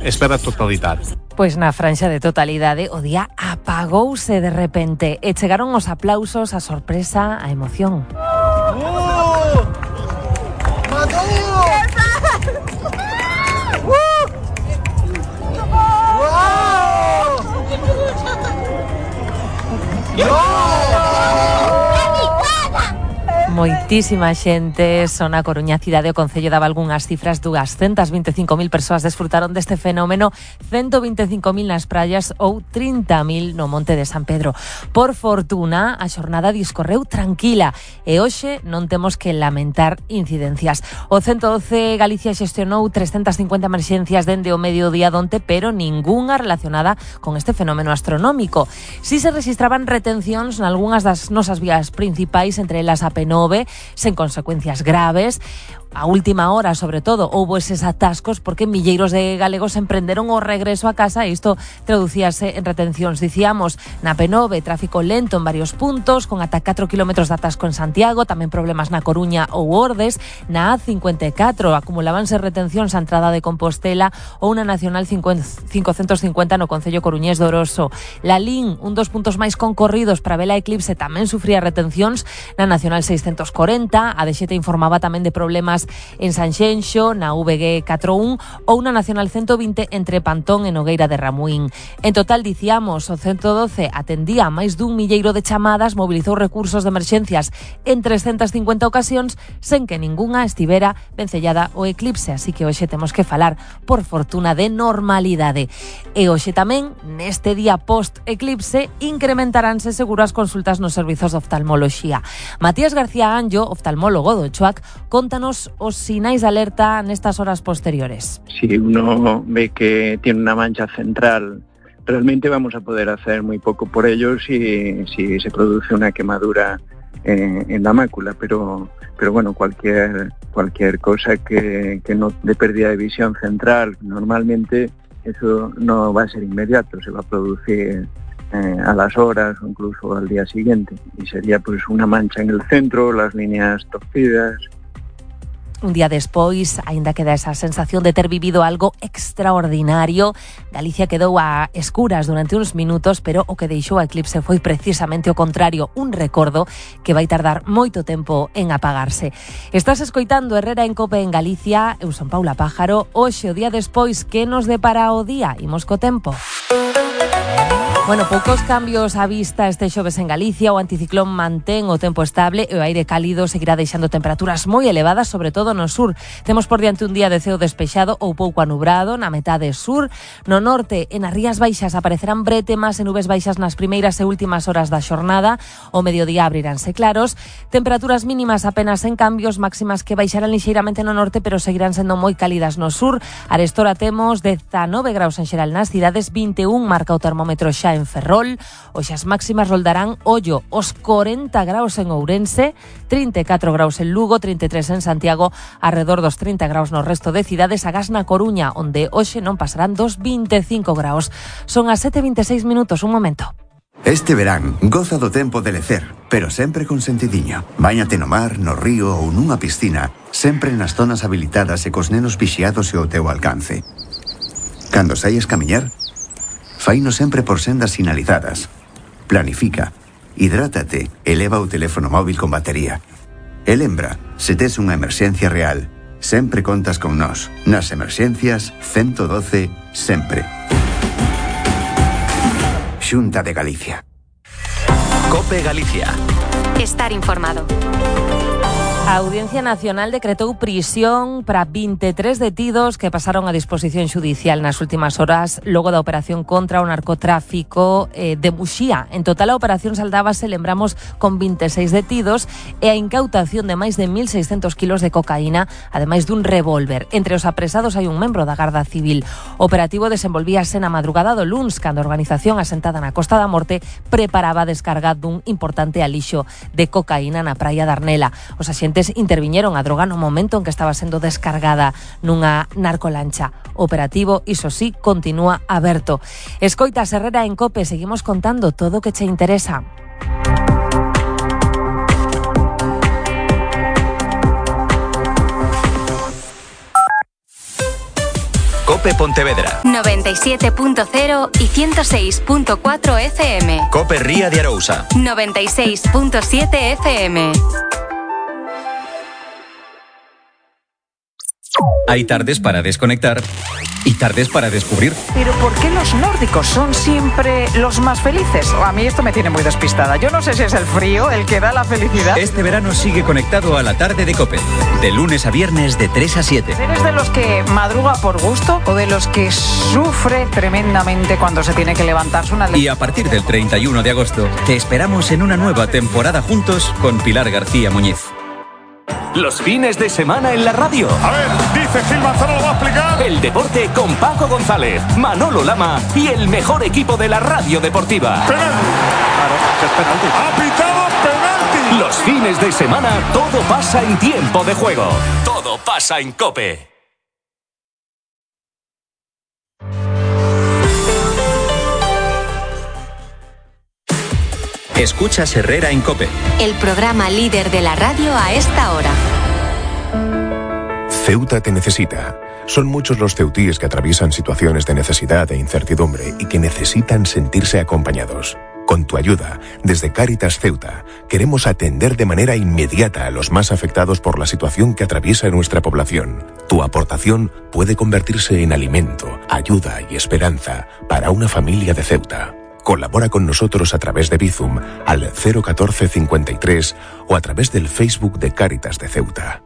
Espera totalidade. Pois na franxa de totalidade o día apagouse de repente e chegaron os aplausos, a sorpresa, a emoción. Moitísima xente, son a Coruña cidade, o Concello daba algunhas cifras, 225.000 persoas desfrutaron deste fenómeno, 125.000 nas praias ou 30.000 no Monte de San Pedro. Por fortuna, a xornada discorreu tranquila e hoxe non temos que lamentar incidencias. O 112 Galicia xestionou 350 emerxencias dende o mediodía donte, pero ningunha relacionada con este fenómeno astronómico. Si se registraban retencións nalgunhas das nosas vías principais, entre elas a P9, sen consecuencias graves. A última hora, sobre todo, houbo eses atascos porque milleiros de galegos emprenderon o regreso a casa e isto traducíase en retencións. Dicíamos, na P9, tráfico lento en varios puntos, con ata 4 kilómetros de atasco en Santiago, tamén problemas na Coruña ou Ordes. Na A54 acumulábanse retencións á entrada de Compostela ou na Nacional 550 no Concello coruñés de Oroso. Lalín, un dos puntos máis concorridos para ver a eclipse, tamén sufría retencións na Nacional 640. A DXT informaba tamén de problemas en Sanxenxo, na VG 41 ou na Nacional 120 entre Pantón e Nogueira de Ramuín. En total, dicíamos, o 112 atendía a máis dun milleiro de chamadas, mobilizou recursos de emerxencias en 350 ocasións, sen que ningunha estivera vencellada o eclipse, así que hoxe temos que falar, por fortuna, de normalidade. E hoxe tamén, neste día post-eclipse, incrementaránse seguro as consultas nos servizos de oftalmoloxía. Matías García Anjo, oftalmólogo do CHOAC, contanos os sinais de alerta nestas horas posteriores. Si uno ve que tiene una mancha central, realmente vamos a poder hacer muy poco por ello si se produce una quemadura en la mácula, pero bueno, cualquier cosa que no de pérdida de visión central, normalmente eso no va a ser inmediato, se va a producir a las horas o incluso al día siguiente, y sería pues una mancha en el centro, las líneas torcidas. Un día despois, aínda queda esa sensación de ter vivido algo extraordinario. Galicia quedou a escuras durante uns minutos, pero o que deixou a eclipse foi precisamente o contrario, un recordo que vai tardar moito tempo en apagarse. Estás escoitando Herrera en Cope en Galicia, eu son Paula Pájaro. Hoxe, o día despois, que nos depara o día? Imos co tempo. Bueno, poucos cambios á vista este xoves en Galicia. O anticiclón mantén o tempo estable e o aire cálido seguirá deixando temperaturas moi elevadas, sobre todo no sur. Temos por diante un día de ceo despexado ou pouco anubrado na metade sur. No norte, en as rías baixas, aparecerán brétemas e nubes baixas nas primeiras e últimas horas da xornada. O mediodía abriránse claros. Temperaturas mínimas apenas en cambios, máximas que baixarán lixeiramente no norte, pero seguirán sendo moi cálidas no sur. Arestora temos 19 graus en xeral nas cidades, 21 marca o termómetro xa en Ferrol. Hoxe as máximas roldarán, ollo, os 40 graus en Ourense, 34 graus en Lugo, 33 en Santiago, alrededor dos 30 graus no resto de cidades, agás na Coruña, onde hoxe non pasarán dos 25 graus. Son as 7:26 minutos, un momento. Este verán, goza do tempo de lecer, pero sempre con sentidiño. Báñate no mar, no río ou nunha piscina, sempre nas zonas habilitadas e cos nenos vixiados e ao teu alcance. Cando saias camiñar, faino sempre por sendas sinalizadas. Planifica, hidrátate e leva o teléfono móvil con batería. E lembra, se tes unha emerxencia real, sempre contas con nós. Nas emerxencias, 112, sempre. Xunta de Galicia. COPE Galicia. Estar informado. A Audiencia Nacional decretou prisión para 23 detidos que pasaron a disposición xudicial nas últimas horas logo da operación contra o narcotráfico de Muxía. En total, a operación saldábase, lembramos, con 26 detidos e a incautación de máis de 1.600 kilos de cocaína, ademais dun revólver. Entre os apresados hai un membro da Garda Civil. O operativo desenvolvíase na madrugada do luns, cando a organización asentada na Costa da Morte preparaba a descarga dun importante alixo de cocaína na praia de Arnela. Os axentes interviñeron a droga no momento en que estaba sendo descargada nunha narcolancha. O operativo, iso sí, continúa aberto. Escoitas Herrera en Cope, seguimos contando todo o que che interesa. COPE COPE Pontevedra. 97.0 y 106.4 FM. COPE Ría de Arousa. 96.7 FM. Hay tardes para desconectar y tardes para descubrir. Pero ¿por qué los nórdicos son siempre los más felices? A mí esto me tiene muy despistada. Yo no sé si es el frío el que da la felicidad. Este verano sigue conectado a la tarde de COPE. De lunes a viernes de 3 a 7. ¿Eres de los que madruga por gusto o de los que sufre tremendamente cuando se tiene que levantarse una... Y a partir del 31 de agosto te esperamos en una nueva temporada juntos con Pilar García Muñiz. Los fines de semana en la radio. A ver, dice Gil Manzano, lo va a explicar. El deporte con Paco González, Manolo Lama y el mejor equipo de la radio deportiva. Penalti. Claro, que es penalti. Ha pitado penalti. Los fines de semana todo pasa en tiempo de juego. Todo pasa en COPE. Escuchas Herrera en COPE. El programa líder de la radio a esta hora. Ceuta te necesita. Son muchos los ceutíes que atraviesan situaciones de necesidad e incertidumbre y que necesitan sentirse acompañados. Con tu ayuda, desde Cáritas Ceuta, queremos atender de manera inmediata a los más afectados por la situación que atraviesa nuestra población. Tu aportación puede convertirse en alimento, ayuda y esperanza para una familia de Ceuta. Colabora con nosotros a través de Bizum al 01453 o a través del Facebook de Cáritas de Ceuta.